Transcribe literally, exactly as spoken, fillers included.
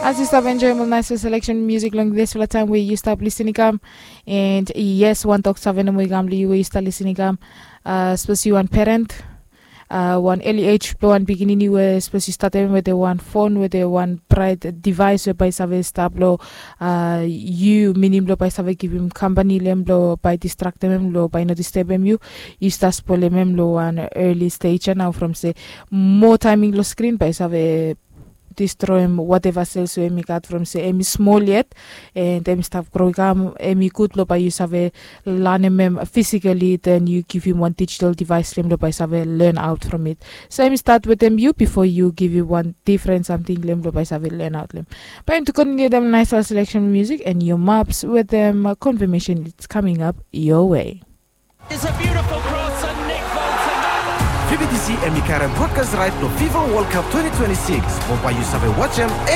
As yu stap enjoim ol naisfala seleksen musik long disfala taim we yu stap lisin i kam. And yes, wan tok save nomo i kam long yu we yu stap lisin i kam. Sapos yu wan perent, wan eli ej blong wan pikinini we sapos yu statem wetem wan fon wetem wan brait devaes we bae i save stap long yu, minim blong bae i save givim kampani long em blong bae i distraktem em long bae i no distebem yu. Yu stap spolem em long wan eli stej ya nao from se moa taeming long skrin bae i save distroem wateva sels we em i gat from se em i smol yet. And em i stap gro i kam, em i gud blong bae yu save lanem em fisikali, then yu givim wan dijital devaes long em blong bae i save len aot from it. So em i stat wetem yu bifo yu givim wan difren samting long em blong bae i save len aot long em. Bae em tu kontiniu dem naisfala seleksen musik and yu maps wetem konfamesen, it's coming up your way. Is a beautiful cross and Nick Bolton. Vibidisi em i karem brodkas raet blong fifa wol kap twenty twenty-six mo bae yu save wajem